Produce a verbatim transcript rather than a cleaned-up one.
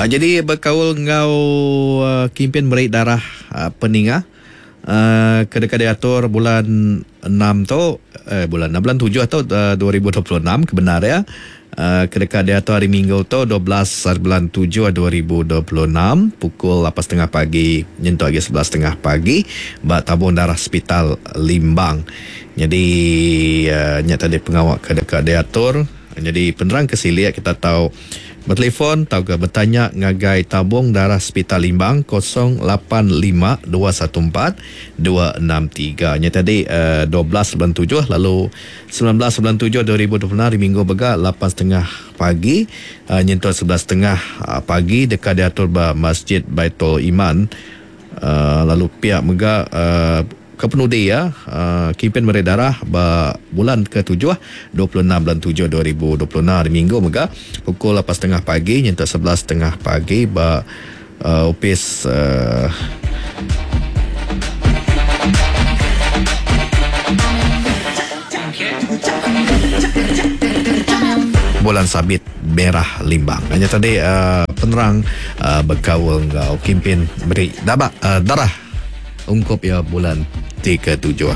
Uh, jadi berkaul ngau uh, kimpin beri darah uh, peninga uh, ke dekat diatur bulan enam tu eh, bulan enam, bulan tujuh tu uh, dua ribu dua puluh enam kebenar ya. Uh, ke dekat diatur hari Minggu tu dua belas bulan tujuh dua ribu dua puluh enam pukul lapan setengah pagi nyentuk lagi sebelas setengah pagi ba tabung darah Hospital Limbang. Jadi uh, nyata tadi pengawak ke dekat diatur. Jadi penerang ke siliak kita tahu bertelefon atau ke bertanya ngagai tabung darah Hospital Limbang kosong lapan lima dua satu empat dua enam tiga. Nya tadi, uh, dua belas bulan tujuh lalu sembilan belas bulan tujuh dua ribu dua puluh enam hari Minggu bega lapan setengah pagi, uh, nyentuh sebelas setengah, uh, pagi dekat diatur ba Masjid Baitul Iman. Uh, lalu pihak mega, uh, kepenudi ya, uh, kempen meri darah ba bulan ketujuh dua puluh enam bulan tujuh dua ribu dua puluh enam hari Minggu mega pukul lapan setengah pagi nyentuh sebelas setengah pagi ba, uh, ofis, uh, Bulan Sabit Merah Limbang. Hanya tadi, uh, penerang, uh, berkaul ngau kempen beri dabak, uh, darah ungkup ya bulan tiga tujuh.